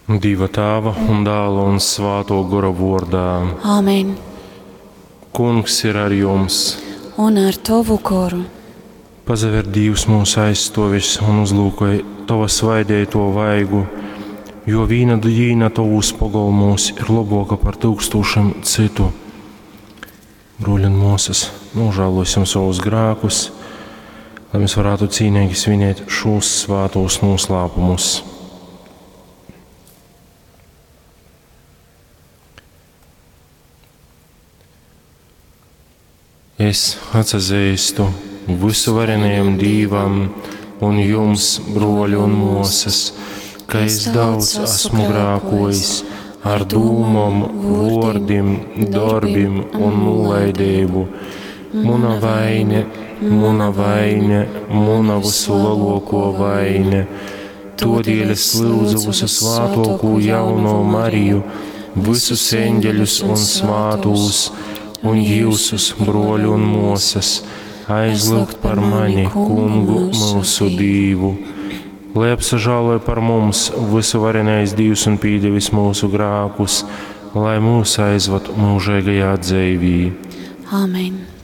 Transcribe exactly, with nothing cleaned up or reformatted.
Dieva Tēva un Dēla un Svāto Gora vordā. Āmen. Kungs ir ar jums. Un ar tavu goru. Pazaver Dievs mūsu aizstovis un uzlūkoj tava svaidēto vaigu, jo vīna dīna tavūs pogolmūs ir laboka par tūkstošiem citu. Bruļi un mūsas, nožēlosim savus grēkus, lai mēs varētu cīnīgi svinēt šos svātos noslēpumus. Es atsazīstu visuvarenajam Dīvam un jums, broļi un mūsas, ka es daudz esmu grākojis ar dūmom, vōrdim, darbim un nulaidību. Muna vaine, muna vaine, muna visu lielāko vaine. Todēļ es lūdzu visu svātoko jauno Mariju, visus eņģeļus un svātūs, un jūsus, broļu un mūsas, aizlūgt par mani, kungu mūsu Dīvu. Lai apsažāloja par mums visuvarenais Dievs un pīdevis mūsu grākus, lai mūs aizvad mūžīgajā dzīvī. Āmen.